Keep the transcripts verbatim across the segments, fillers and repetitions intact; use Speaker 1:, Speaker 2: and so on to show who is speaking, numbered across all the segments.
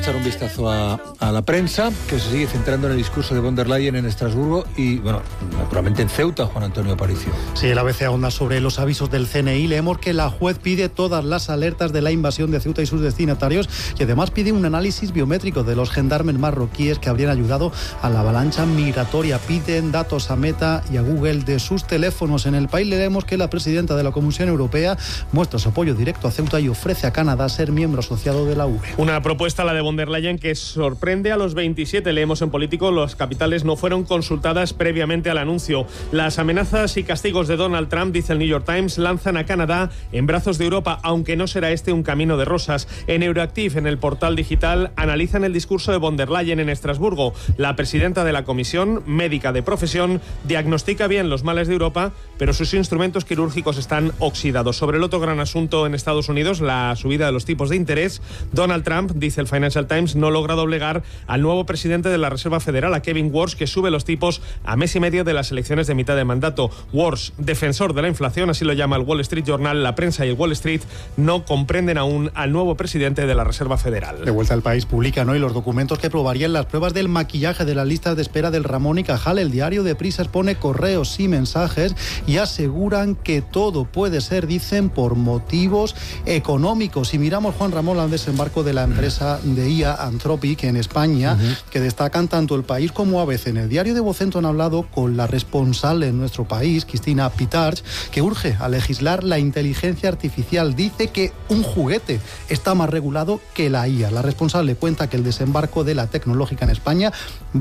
Speaker 1: Echar un vistazo a, a la prensa, que se sigue centrando en el discurso de von der Leyen en Estrasburgo y, bueno, naturalmente en Ceuta, Juan Antonio Aparicio.
Speaker 2: Sí, el A B C ahonda sobre los avisos del C N I. Leemos que la juez pide todas las alertas de la invasión de Ceuta y sus destinatarios y además pide un análisis biométrico de los gendarmes marroquíes que habrían ayudado a la avalancha migratoria. Piden datos a Meta y a Google de sus teléfonos. En El País leemos que la presidenta de la Comisión Europea muestra su apoyo directo a Ceuta y ofrece a Canadá ser miembro asociado de la U E.
Speaker 3: Una propuesta, la de von der Leyen, que sorprende a los veintisiete. Leemos en Político, las capitales no fueron consultadas previamente al anuncio. Las amenazas y castigos de Donald Trump, dice el New York Times, lanzan a Canadá en brazos de Europa, aunque no será este un camino de rosas. En Euroactiv, en el portal digital, analizan el discurso de von der Leyen en Estrasburgo. La presidenta de la Comisión, médica de profesión, diagnostica bien los males de Europa, pero sus instrumentos quirúrgicos están oxidados. Sobre el otro gran asunto en Estados Unidos, la subida de los tipos de interés, Donald Trump, dice el Financial Times, no logra doblegar al nuevo presidente de la Reserva Federal, a Kevin Warsh, que sube los tipos a mes y medio de las elecciones de mitad de mandato. Warsh, defensor de la inflación, así lo llama el Wall Street Journal. La prensa y el Wall Street no comprenden aún al nuevo presidente de la Reserva Federal.
Speaker 2: De vuelta al País publican hoy los documentos que probarían las pruebas del maquillaje de las listas de espera del Ramón y Cajal. El diario de Prisa expone correos y mensajes y aseguran que todo puede ser, dicen, por motivos económicos. Y miramos, Juan Ramón, al desembarco de la empresa de I A Anthropic en España, uh-huh. que destacan tanto El País como A B C. En el diario de Vocento han hablado con la responsable en nuestro país, Cristina Pitarch, que urge a legislar la inteligencia artificial. Dice que un juguete está más regulado que la I A. La responsable cuenta que el desembarco de la tecnológica en España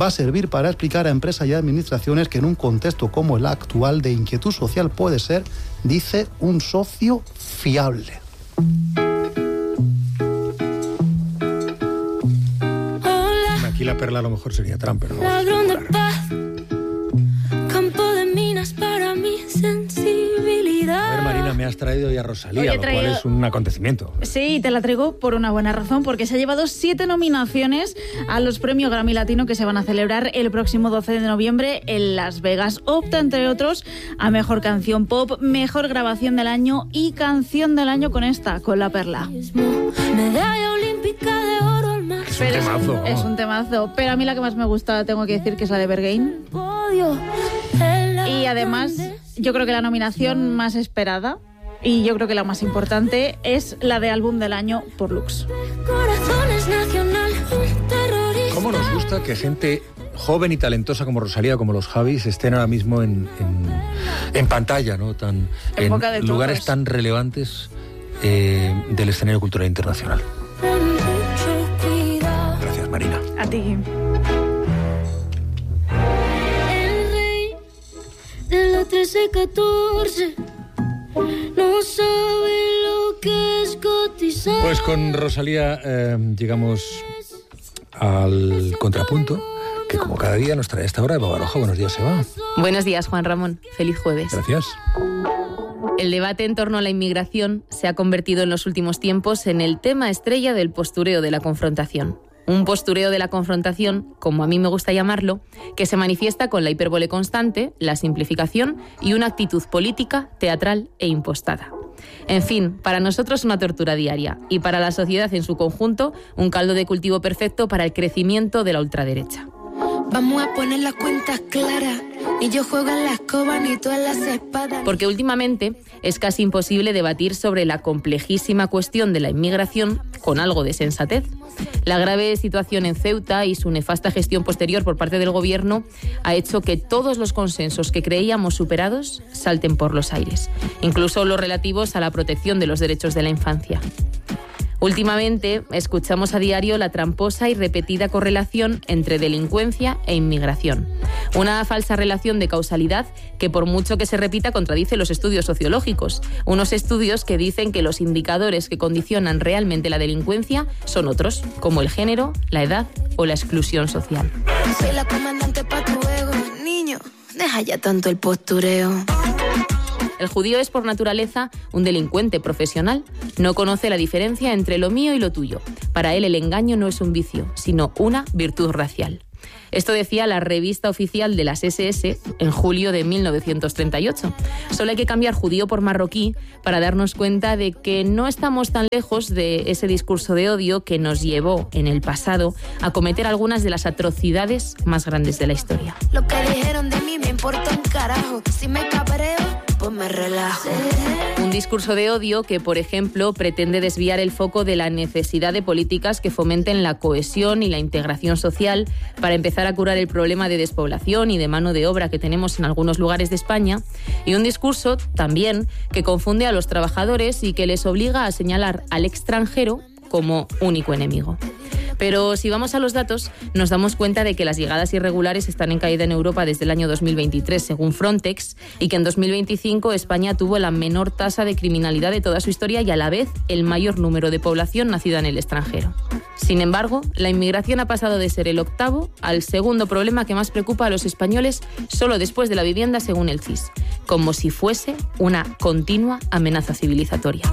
Speaker 2: va a servir para explicar a empresas y administraciones que en un contexto como el actual de inquietud social puede ser, dice, un socio fiable.
Speaker 1: Aquí la perla a lo mejor sería Trump, pero no.
Speaker 4: Ladrón de paz, campo de minas para mi sensibilidad.
Speaker 1: A ver, Marina, me has traído ya a Rosalía,
Speaker 5: Oye,
Speaker 1: lo
Speaker 5: traído...
Speaker 1: cual es un acontecimiento.
Speaker 5: Sí, te la traigo por una buena razón, porque se ha llevado siete nominaciones a los premios Grammy Latino que se van a celebrar el próximo doce de noviembre en Las Vegas. Opta, entre otros, a Mejor Canción Pop, Mejor Grabación del Año y Canción del Año con esta, con La Perla.
Speaker 4: Medalla olímpica de oro.
Speaker 1: Es un temazo.
Speaker 5: Es, es un temazo, pero a mí la que más me gusta, tengo que decir, que es la de Berghain. Y además, yo creo que la nominación más esperada, y yo creo que la más importante, es la de Álbum del Año por Lux.
Speaker 1: ¿Cómo nos gusta que gente joven y talentosa como Rosalía, como los Javis, estén ahora mismo en, en, en pantalla, ¿no? Tan,
Speaker 5: en,
Speaker 1: en
Speaker 5: boca de
Speaker 1: lugares
Speaker 5: todos.
Speaker 1: tan relevantes eh, del escenario cultural internacional? Gracias, Marina.
Speaker 5: A ti.
Speaker 4: El rey de la trece catorce no sabe lo que es cotizar.
Speaker 1: Pues con Rosalía eh, llegamos al contrapunto, que como cada día nos trae a esta hora Eva Baroja. Buenos días, Eva.
Speaker 6: Buenos días, Juan Ramón. Feliz jueves.
Speaker 1: Gracias.
Speaker 6: El debate en torno a la inmigración se ha convertido en los últimos tiempos en el tema estrella del postureo de la confrontación. Un postureo de la confrontación, como a mí me gusta llamarlo, que se manifiesta con la hipérbole constante, la simplificación y una actitud política, teatral e impostada. En fin, para nosotros una tortura diaria y para la sociedad en su conjunto un caldo de cultivo perfecto para el crecimiento de la ultraderecha.
Speaker 4: Vamos a poner las cuentas claras, ni yo juego en la escoba ni tú en las espadas.
Speaker 6: Porque últimamente es casi imposible debatir sobre la complejísima cuestión de la inmigración con algo de sensatez. La grave situación en Ceuta y su nefasta gestión posterior por parte del gobierno ha hecho que todos los consensos que creíamos superados salten por los aires, incluso los relativos a la protección de los derechos de la infancia. Últimamente escuchamos a diario la tramposa y repetida correlación entre delincuencia e inmigración. Una falsa relación de causalidad que, por mucho que se repita, contradice los estudios sociológicos. Unos estudios que dicen que los indicadores que condicionan realmente la delincuencia son otros, como el género, la edad o la exclusión social.
Speaker 4: Soy la comandante pa' tu ego, niño, deja ya tanto el postureo.
Speaker 6: El judío es por naturaleza un delincuente profesional. No conoce la diferencia entre lo mío y lo tuyo. Para él el engaño no es un vicio, sino una virtud racial. Esto decía la revista oficial de las ese ese en julio de mil novecientos treinta y ocho. Solo hay que cambiar judío por marroquí para darnos cuenta de que no estamos tan lejos de ese discurso de odio que nos llevó en el pasado a cometer algunas de las atrocidades más grandes de la historia.
Speaker 4: Lo que dijeron de mí me importa un carajo. Si me cabreo, pues me relajo.
Speaker 6: Un discurso de odio que, por ejemplo, pretende desviar el foco de la necesidad de políticas que fomenten la cohesión y la integración social para empezar a curar el problema de despoblación y de mano de obra que tenemos en algunos lugares de España, y un discurso también que confunde a los trabajadores y que les obliga a señalar al extranjero como único enemigo. Pero si vamos a los datos, nos damos cuenta de que las llegadas irregulares están en caída en Europa desde el año dos mil veintitrés, según Frontex, y que en dos mil veinticinco España tuvo la menor tasa de criminalidad de toda su historia y a la vez el mayor número de población nacida en el extranjero. Sin embargo, la inmigración ha pasado de ser el octavo al segundo problema que más preocupa a los españoles, solo después de la vivienda, según el C I S, como si fuese una continua amenaza civilizatoria.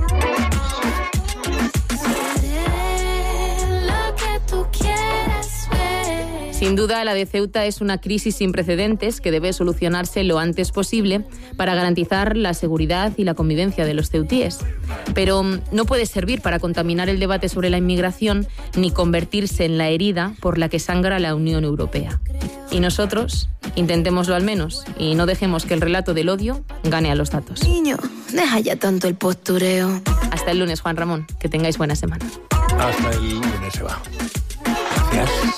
Speaker 6: Sin duda, la de Ceuta es una crisis sin precedentes que debe solucionarse lo antes posible para garantizar la seguridad y la convivencia de los ceutíes. Pero no puede servir para contaminar el debate sobre la inmigración ni convertirse en la herida por la que sangra la Unión Europea. Y nosotros, intentémoslo al menos, y no dejemos que el relato del odio gane a los datos.
Speaker 4: Niño, deja ya tanto el postureo.
Speaker 6: Hasta el lunes, Juan Ramón. Que tengáis buena semana.
Speaker 1: Hasta el lunes se va. Gracias.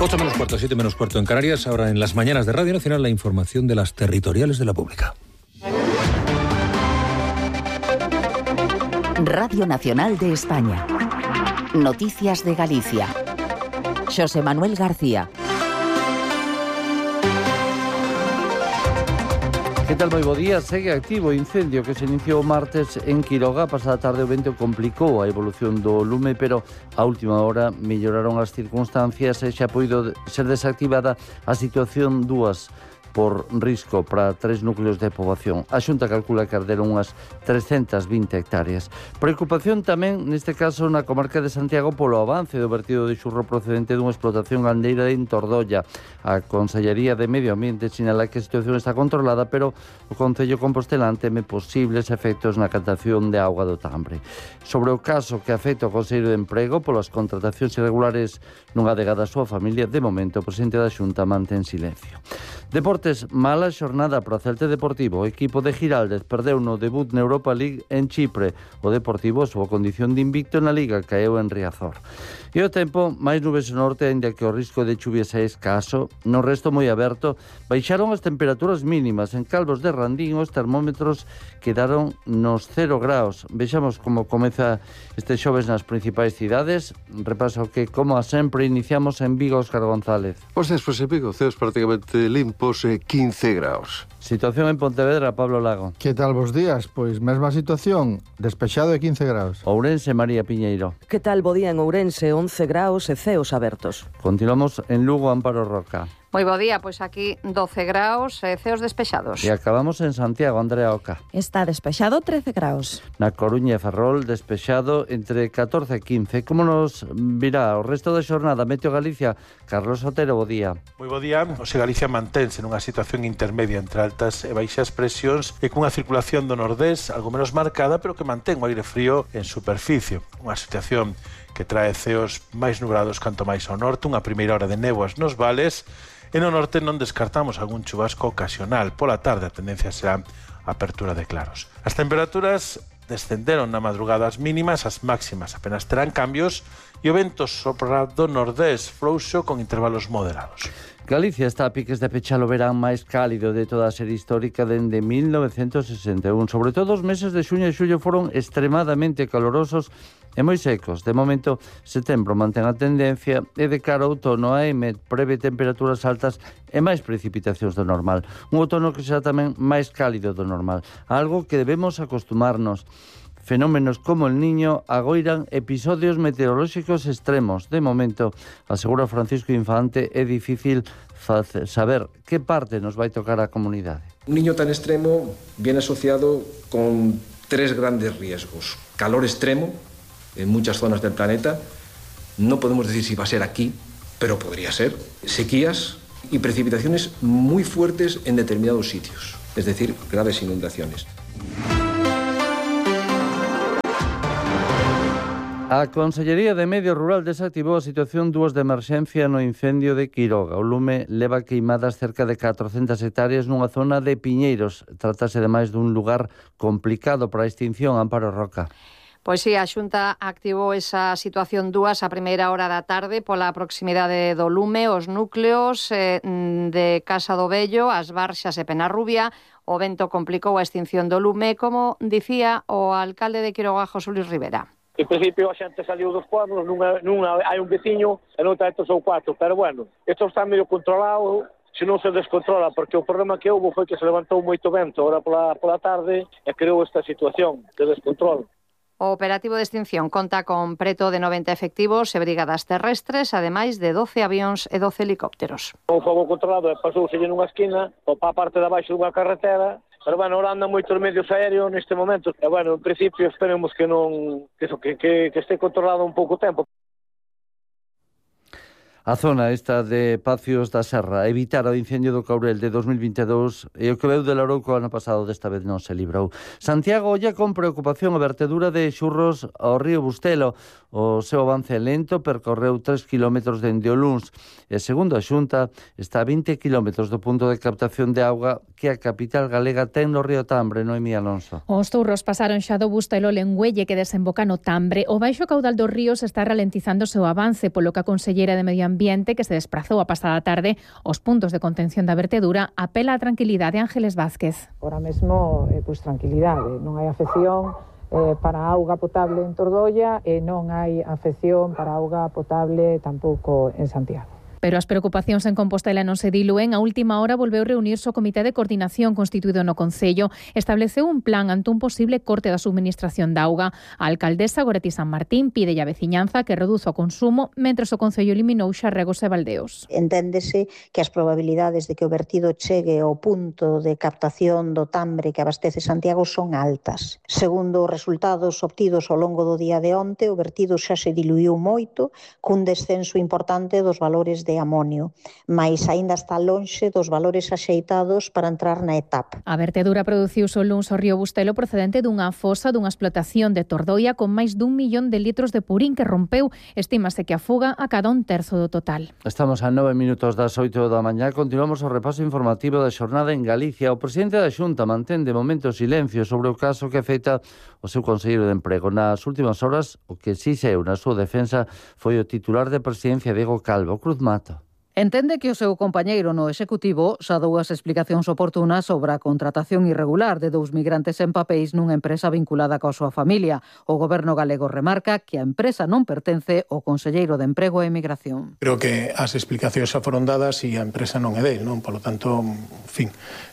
Speaker 1: ocho menos cuarto, siete menos cuarto en Canarias. Ahora en las mañanas de Radio Nacional la información de las territoriales de la pública.
Speaker 7: Radio Nacional de España. Noticias de Galicia. Xosé Manuel García.
Speaker 8: Que tal, moi bo día? Segue activo o incendio que se iniciou martes en Quiroga. Pasada tarde o vento complicou a evolución do lume, pero a última hora melloraron as circunstancias e xa poido ser desactivada a situación dúas por risco para tres núcleos de poboación. A Xunta calcula que arderon unhas trescentas vinte hectáreas. Preocupación tamén, neste caso, na comarca de Santiago polo avance do vertido de xurro procedente dunha explotación gandeira en Tordolla. A Consellería de Medio Ambiente sinala que a situación está controlada, pero o Concello compostelán teme posibles efectos na captación de auga do Tambre. Sobre o caso que afecta o Consello de Emprego polas contratacións irregulares nunha adegada a súa familia, de momento o presidente da Xunta mantén silencio. Deportes, mala xornada para o Celta Deportivo. O equipo de Giraldez perdeu no debut na Europa League en Chipre. O Deportivo, a súa condición de invicto na Liga, caeu en Riazor. E o tempo, máis nubes no norte, ainda que o risco de chuvias é escaso, no resto moi aberto, baixaron as temperaturas mínimas. En Calvos de Randín os termómetros quedaron nos cero graus. Vexamos como comeza este xoves nas principais cidades. Repaso que, como a sempre, iniciamos en Vigo, Óscar González.
Speaker 9: Pois despois en Vigo, ceos prácticamente limpos, eh, quince graus.
Speaker 8: Situación en Pontevedra, Pablo Lago.
Speaker 10: Que tal vos días? Pois mesma situación, despexado de quince graus.
Speaker 8: Ourense, María Piñeiro.
Speaker 11: Que tal bo día en Ourense, once graus e ceos abertos.
Speaker 8: Continuamos en Lugo, Amparo Roca.
Speaker 12: Moi bo día, pois aquí doce graus e ceos despexados.
Speaker 8: E acabamos en Santiago, Andrea Oca.
Speaker 13: Está despexado trece graus.
Speaker 8: Na Coruña e Ferrol, despexado entre catorce e quince. Como nos virá o resto da xornada? Meteo Galicia, Carlos Otero, bo día.
Speaker 14: Moi bo día. Ose Galicia mantense nunha situación intermedia entre altas e baixas presións e cunha circulación do nordés algo menos marcada, pero que mantén o aire frío en superficie. Unha situación que trae ceos máis nubrados canto máis ao norte, unha primeira hora de néboas nos vales. E no norte non descartamos algún chubasco ocasional. Pola tarde a tendencia será a apertura de claros. As temperaturas descenderon na madrugada as mínimas, as máximas apenas terán cambios e o vento sopra do nordés frouxo con intervalos moderados.
Speaker 8: Galicia está a piques de pechar o verán máis cálido de toda a serie histórica dende mil novecentos sesenta e un. Sobre todo os meses de xuño e xullo foron extremadamente calorosos e moi secos. De momento, setembro mantén a tendencia e de cara ao outono a E M E prevé temperaturas altas e máis precipitacións do normal. Un outono que será tamén máis cálido do normal, algo que debemos acostumarnos. Fenómenos como el Niño agoiran episodios meteorolóxicos extremos. De momento, asegura Francisco Infante, é difícil saber que parte nos vai tocar a comunidade.
Speaker 15: Un niño tan extremo viene asociado con tres grandes riesgos. Calor extremo en muchas zonas del planeta. No podemos decir si va a ser aquí, pero podría ser sequías y precipitaciones muy fuertes en determinados sitios, es decir, graves inundaciones.
Speaker 8: A Consellería de Medio Rural desactivou a situación dúas de emerxencia no incendio de Quiroga. O lume leva queimadas cerca de catrocentas hectáreas nunha zona de piñeiros. Trátase ademais dun lugar complicado para a extinción. Amparo Roca.
Speaker 12: Pois sí, a Xunta activou esa situación dúas a primeira hora da tarde pola proximidade do lume, os núcleos eh, de Casa do Vello, as Barxas e Penarrubia. O vento complicou a extinción do lume, como dicía o alcalde de Quiroga, José Luis Rivera.
Speaker 16: En principio a xente saliu dos pueblos, nunha, nunha hai un veciño e noutra hai tres ou cuatro, pero bueno, isto está medio controlado, se non se descontrola, porque o problema que houve foi que se levantou moito vento ahora pola, pola tarde e creou esta situación de descontrol.
Speaker 12: O operativo de extinción conta con preto de noventa efectivos e brigadas terrestres, ademais de doce avións e doce helicópteros.
Speaker 16: O fogo controlado pasouse nunha esquina, ou para a parte de abaixo dunha carretera, pero, bueno, ahora andan moitos medios aéreos neste momento. E, bueno, en principio, esperemos que non que, que, que este controlado un pouco tempo.
Speaker 8: A zona esta de Pacios da Serra evitar o incendio do Caurel de dos mil vinte e dous e o que veu de Louroco ano pasado desta vez non se librou. Santiago olla con preocupación a vertedura de xurros ao río Bustelo. O seu avance lento percorreu tres kilómetros dende o luns e, segundo a Xunta, está a vinte kilómetros do punto de captación de auga que a capital galega ten no río Tambre, Noemí Alonso.
Speaker 17: Os turros pasaron xa do Bustelo ao Lengüelle que desemboca no Tambre. O baixo caudal dos ríos está ralentizando o seu avance, polo que a Consellera de Medio Ambiente, que se desplazou a pasada tarde aos puntos de contención da vertedura, apela á tranquilidade. Ángeles Vázquez.
Speaker 18: Ahora mesmo, eh, pois tranquilidade, non hai afección eh, para a auga potable en Tordolla e non hai afección para a auga potable tampouco en Santiago.
Speaker 17: Pero as preocupacións en Compostela non se dilúen. A última hora volveu reunirse o Comité de Coordinación constituído no Concello. Estableceu un plan ante un posible corte da subministración de auga. A alcaldesa Goretti San Martín pide a veciñanza que reduza o consumo, mentres o Concello eliminou xa regos e baldeos.
Speaker 19: Enténdese que as probabilidades de que o vertido chegue ao punto de captación do Tambre que abastece Santiago son altas. Segundo os resultados obtidos ao longo do día de onte, o vertido xa se diluiu moito, cun descenso importante dos valores de amonio, mais aínda está lonxe dos valores axeitados para entrar na etapa.
Speaker 17: A vertedura produciuse o luns ao río Bustelo procedente dunha fosa dunha explotación de Tordoia con máis dun millón de litros de purín que rompeu. Estímase que a fuga a cada un terzo do total.
Speaker 8: Estamos a nove minutos das oito da mañá. Continuamos o repaso informativo da xornada en Galicia. O presidente da Xunta mantén de momento silencio sobre o caso que afecta o seu conselleiro de Emprego. Nas últimas horas, o que si saiu na súa defensa foi o titular de Presidencia, Diego Calvo. Cruz Mato.
Speaker 20: Entende que o seu compañeiro no Executivo xa dou as explicacións oportunas sobre a contratación irregular de dous migrantes en papéis nunha empresa vinculada coa súa familia. O Goberno galego remarca que a empresa non pertence ao conselleiro de Emprego e Emigración.
Speaker 21: Creo que as explicacións xa foron dadas e a empresa non é del, non? Por lo tanto, en fin,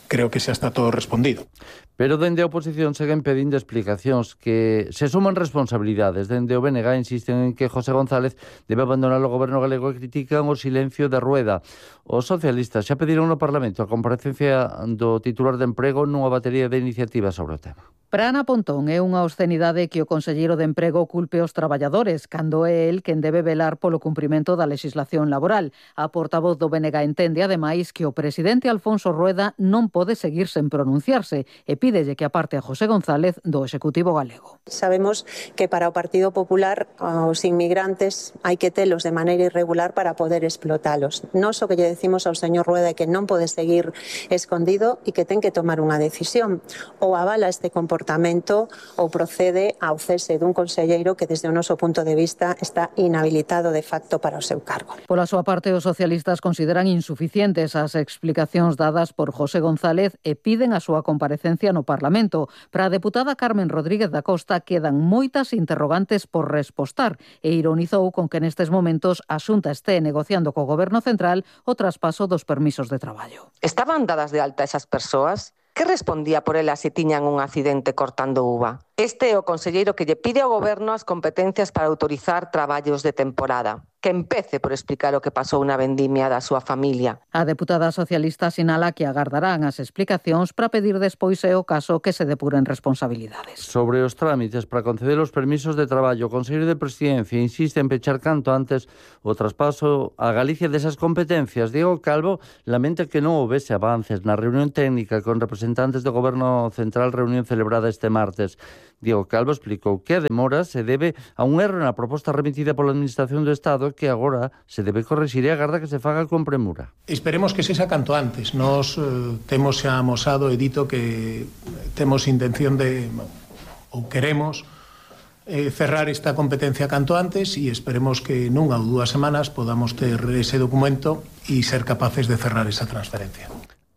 Speaker 21: creo que xa está todo respondido.
Speaker 8: Pero dende a oposición seguen pedindo explicacións que se suman responsabilidades. Dende o B N G insisten en que José González debe abandonar o goberno galego e critican o silencio de Rueda. Os socialistas xa pediron no Parlamento a comparecencia do titular de Emprego nunha batería de iniciativas sobre o tema.
Speaker 20: Para Ana Pontón é unha obscenidade que o conselleiro de Emprego culpe os traballadores, cando é el quen debe velar polo cumprimento da legislación laboral. A portavoz do B N G entende, ademais, que o presidente Alfonso Rueda non pode seguir sen pronunciarse e pídelle que aparte a José González do Executivo galego.
Speaker 22: Sabemos que para o Partido Popular os inmigrantes hai que telos de maneira irregular para poder explotalos. Nós o que lle decimos ao señor Rueda é que non pode seguir escondido e que ten que tomar unha decisión. Ou avala este comportamento ou procede ao cese dun conselleiro que desde o noso punto de vista está inhabilitado de facto para o seu cargo.
Speaker 20: Pola súa parte, os socialistas consideran insuficientes as explicacións dadas por José González e piden a súa comparecencia no Parlamento. Para a deputada Carmen Rodríguez da Costa quedan moitas interrogantes por respostar e ironizou con que nestes momentos a Xunta este negociando co Goberno Central o traspaso dos permisos de traballo.
Speaker 23: Estaban dadas de alta esas persoas? Que respondía por elas se tiñan un accidente cortando uva? Este é o conselleiro que lle pide ao Goberno as competencias para autorizar traballos de temporada. que empece por explicar o que pasou na vendimia da súa familia.
Speaker 20: A deputada socialista sinala que agardarán as explicacións para pedir despois é o caso que se depuren responsabilidades.
Speaker 8: Sobre os trámites para conceder os permisos de traballo, o Consello de Presidencia insiste en pechar canto antes o traspaso a Galicia desas competencias. Diego Calvo lamenta que non houvese avances na reunión técnica con representantes do Goberno Central, reunión celebrada este martes. Diego Calvo explicou que a demora se debe a un erro na proposta remitida pola Administración do Estado que agora se debe corrixir e agarda que se faga con premura.
Speaker 21: Esperemos que sexa canto antes. Nos eh, temos xa amosado e dito que temos intención de, ou queremos, eh, cerrar esta competencia canto antes e esperemos que nunha ou dúas semanas podamos ter ese documento e ser capaces de cerrar esa transferencia.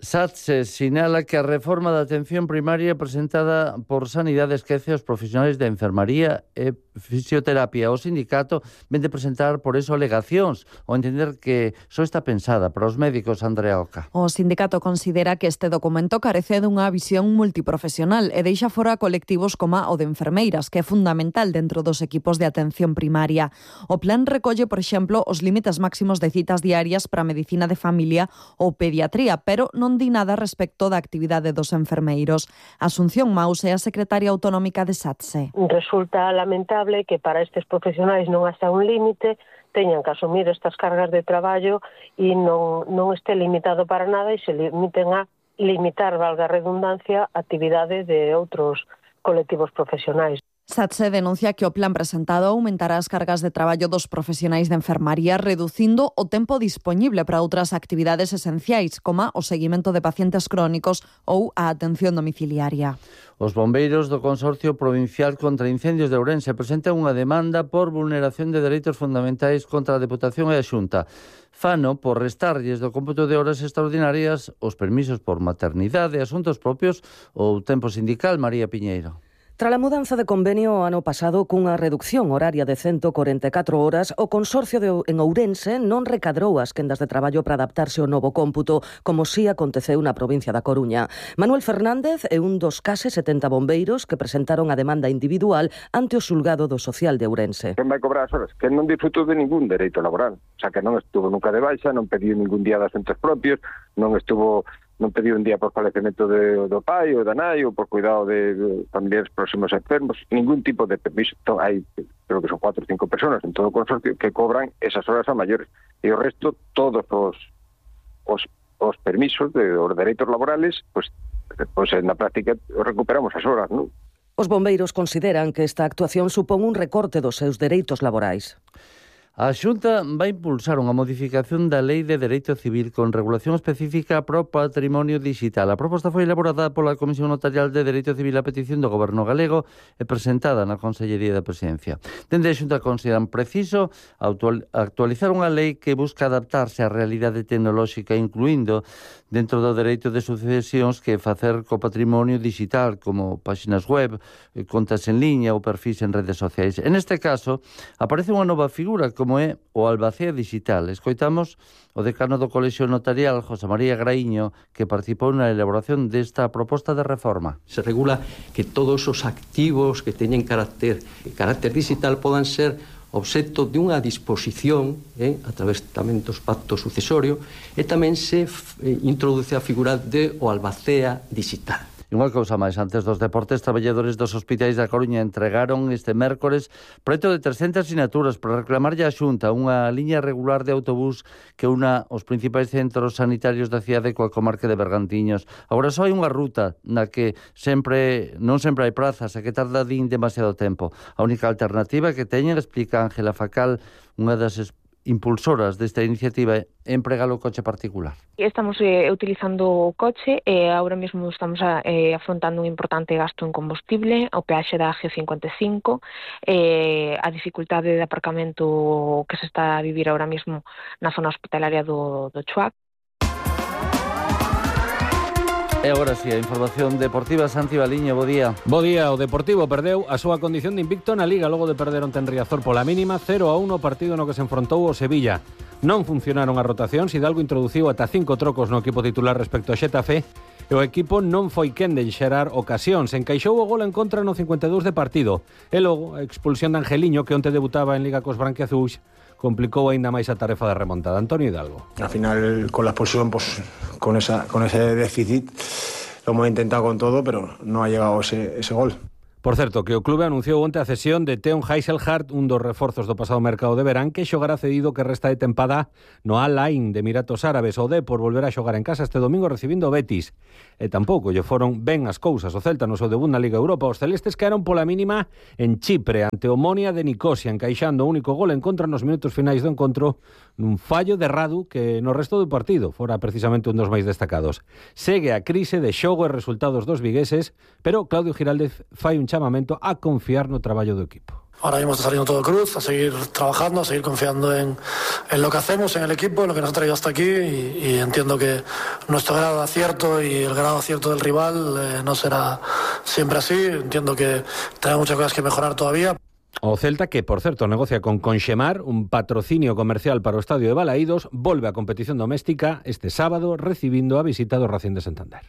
Speaker 8: SATSE sinala que a reforma da atención primaria presentada por Sanidade esquece os profesionais de enfermaría e fisioterapia. O sindicato ven de presentar por eso alegacións ao entender que só está pensada para os médicos. Andrea Oca.
Speaker 2: O sindicato considera que este documento carece dunha visión multiprofesional e deixa fora colectivos como o de enfermeiras, que é fundamental dentro dos equipos de atención primaria. O plan recolle, por exemplo, os límites máximos de citas diarias para medicina de familia ou pediatría, pero non di nada respecto da actividade dos enfermeiros. Asunción Maus é a secretaria autonómica de SATSE.
Speaker 3: Resulta lamentable que para estes profesionais non hasta un límite teñan que asumir estas cargas de traballo e non, non este limitado para nada e se limiten a limitar, valga a redundancia, a actividade de outros colectivos profesionais.
Speaker 2: SATSE denuncia que o plan presentado aumentará as cargas de traballo dos profesionais de enfermaría, reducindo o tempo dispoñible para outras actividades esenciais, como o seguimento de pacientes crónicos ou a atención domiciliaria.
Speaker 8: Os bombeiros do Consorcio Provincial contra Incendios de Ourense presentan unha demanda por vulneración de dereitos fundamentais contra a Deputación e a Xunta. Fano por restarlles do cómputo de horas extraordinarias os permisos por maternidade, asuntos propios ou tempo sindical. María Piñeiro.
Speaker 11: Tras a mudanza de convenio o ano pasado cunha reducción horaria de ciento corenta e catro horas, o Consorcio de, en Ourense non recadrou as quendas de traballo para adaptarse ao novo cómputo, como si aconteceu na provincia da Coruña. Manuel Fernández é un dos case setenta bombeiros que presentaron a demanda individual ante o xulgado do Social de Ourense.
Speaker 5: Quen vai cobrar as horas? Que non disfrutou de ningún dereito laboral. O sea, que non estuvo nunca de baixa, non pediu ningún día de asuntos propios, non estuvo... non pediu un día por falecemento de, do pai ou da nai ou por cuidado de, de familiares próximos enfermos, ningún tipo de permiso. Entón, hai, creo que son cuatro ou cinco personas en todo o consorcio que cobran esas horas a maiores e o resto, todos os, os, os permisos de, os dereitos laborales, pues, pues na práctica recuperamos as horas, non?
Speaker 11: Os bombeiros consideran que esta actuación supón un recorte dos seus dereitos laborais.
Speaker 8: A Xunta vai impulsar unha modificación da Lei de Dereito Civil con regulación específica para o patrimonio digital. A proposta foi elaborada pola Comisión Notarial de Dereito Civil a petición do Goberno galego e presentada na Consellería da Presidencia. Dende a Xunta consideran preciso actualizar unha lei que busca adaptarse á realidade tecnolóxica, incluindo dentro do dereito de sucesións que facer co patrimonio digital, como páxinas web, contas en liña ou perfis en redes sociais. En este caso, aparece unha nova figura como é o albacea digital. Escoitamos o decano do Colexio Notarial, José María Graíño, que participou na elaboración desta proposta de reforma.
Speaker 24: Se regula que todos os activos que teñen carácter, carácter digital podan ser obxecto de unha disposición eh, a través tamén dos pactos sucesorio e tamén se eh, introduce a figura de o albacea digital.
Speaker 8: Unha cousa máis, antes dos deportes, traballadores dos hospitais da Coruña entregaron este mércores preto de trescentas sinaturas para reclamarlle á Xunta unha liña regular de autobús que una os principais centros sanitarios da cidade coa comarca de Bergantiños. Agora só hai unha ruta na que sempre non sempre hai prazas e que tarda din demasiado tempo. A única alternativa que teñen, explica Ángela Facal, unha das impulsoras desta iniciativa, é empregar o coche particular.
Speaker 25: Estamos eh, utilizando o coche e agora mesmo estamos a, eh, afrontando un importante gasto en combustible, o peaxe da G cincuenta e cinco, eh, a dificultade de aparcamento que se está a vivir agora mesmo na zona hospitalaria do, do Chuac.
Speaker 8: E agora si, sí, a información deportiva. Santi Baliño, bo día.
Speaker 26: Bo día, o Deportivo perdeu a súa condición de invicto na Liga logo de perder onte en Riazor pola mínima cero a uno, partido no que se enfrontou o Sevilla. Non funcionaron as rotacións, Hidalgo introduciu ata cinco trocos no equipo titular respecto ao Xetafe e o equipo non foi quen de xerar ocasións. Encaixou o gol en contra no cincuenta e dous de partido. E logo a expulsión de Angeliño, que onte debutaba en Liga cos branquiazuis, complicou aínda máis a tarefa de remontada. Antonio Hidalgo.
Speaker 1: Al final, con la expulsión, pues con, esa, con ese déficit, lo hemos intentado con todo, pero no ha llegado ese, ese gol.
Speaker 26: Por certo, que o clube anunciou onte a cesión de Theon Heiselhardt, un dos reforzos do pasado mercado de verán, que xogará cedido que resta de tempada no Al-Ain de Emiratos Árabes. O Depor volverá a xogar en casa este domingo recibindo o Betis. E tampouco lle foron ben as cousas o Celta no seu debut na Liga Europa. Os celestes caeron pola mínima en Chipre ante o Omonia de Nicosia, encaixando o único gol en contra nos minutos finais do encontro nun fallo de Radu que no resto do partido fora precisamente un dos máis destacados. Segue a crise de xogo e resultados dos vigueses, pero Claudio Giraldez fai un chamamento a confiar no traballo do equipo.
Speaker 4: Ahora mismo está saliendo todo cruz, a seguir trabajando, a seguir confiando en, en lo que hacemos, en el equipo, en lo que nos ha traído hasta aquí y, y entiendo que nuestro grado de acierto y el grado de acierto del rival eh, no será siempre así. Entiendo que tenemos muchas cosas que mejorar todavía.
Speaker 26: O Celta, que por certo negocia con Conxemar un patrocinio comercial para o estadio de Balaídos, volve á competición doméstica este sábado recibindo a visita do Racing de Santander.